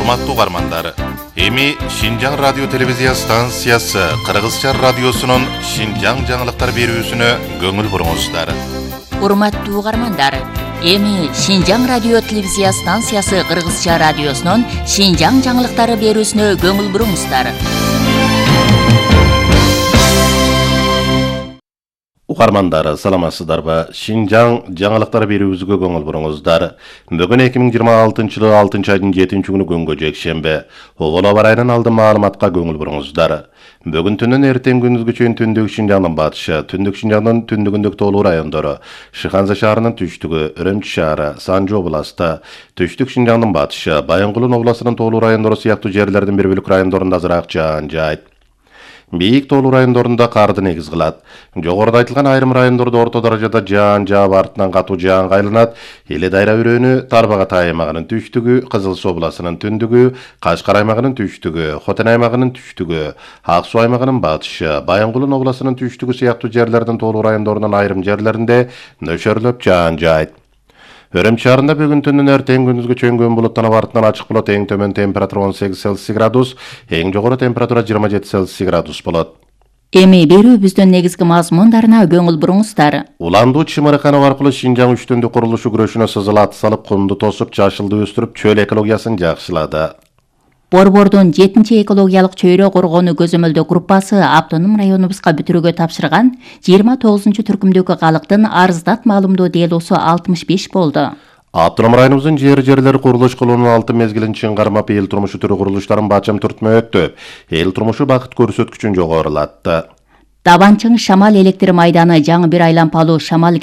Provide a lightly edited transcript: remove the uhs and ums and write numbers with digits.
Урматтуу угармандар, эми Шинжаң радио телевизия станциясы Кыргызча радиосунун Шинжаң жаңылыктар берүүсүнө көңүл буруңуздар. Урматтуу угармандар, эми Шинжаң радио телевизия станциясы Кыргызча радиосунун Шинжаң жаңылыктары берүүсүнө көңүл буруңуздар. Угармандар, саламатсыздарбы? Шинжаң жаңылыктар берүүбүзгө көңүл буруңуздар. Бүгүн 2026-жылы 6-айдын 7-күнү күнгө жекшемби. Обол аба ырайынан алдын маалыматка көңүл буруңуздар. Бүгүн түнүн эртең күндүзгү чейин түндүк Шинжаңдын батышы, түндүк Шинжаңдын түндүгүндөгү тоолуу райондору, Шыханза шаарынын түштүгү, Үрөмчү шаары, Санжы областы, түштүк Шинжаңдын батышы, Баянгулун областынын тоолуу райондору сыяктуу жерлердин бир бөлүк райондорунда азыраак жаан жаайт. Бийик тоолуу райондорунда карды негиз кылат. Жогоруда айтылган айрым райондордо орто даражада жаан жаап артынан катуу жаанга айланат. Эле дайра өрөөнү Тарбагатай аймагынын түштүгү, Кызыл Суу областынын түндүгү, Кашкар аймагынын түштүгү, Хотен аймагынын түштүгү, Ак Суу аймагынын батышы, Баянгулун областынын түштүгү сыяктуу жерлердин тоолуу райондорунун айрым жерлеринде нөшөрлөп жаан жаайт. Үрөмчү шаарында бүгүн түнүн эртең күндүзгү чөң булуттанып артынан ачык болот. Эң төмөн температура 18 Цельсий градус, эң жогору температура 27 Цельсий градус болот. Эми берүүбүздүн негизги мазмундарына көңүл буруңуздар. Уландуу чымырыканов аркылуу Шинжаң үчтүндүк курулушу күрөшүнө сызылат салып, кумду тосуп, жашылды өстүрүп, чөл экологиясын жакшылады. Борбордун 7-чи экологиялык чөйрө коргонуу көзөмөлдөө группасы автоном районубузга бүтүрүүгө тапшырган 29-чу түркүмдөгү калктын арыздат маалымдоо делосу 65 болду. Автоном районубуздун жерлери курулуш кылуунун 6 мезгилин чың кармап, эл турмушу түрү курулуштарын бачым түртмө өттү. Эл турмушу бакыт көрсөткүчүн жогорулатты. Табанчың Шамал электр майданы жаңы бир айлампалуу Шамал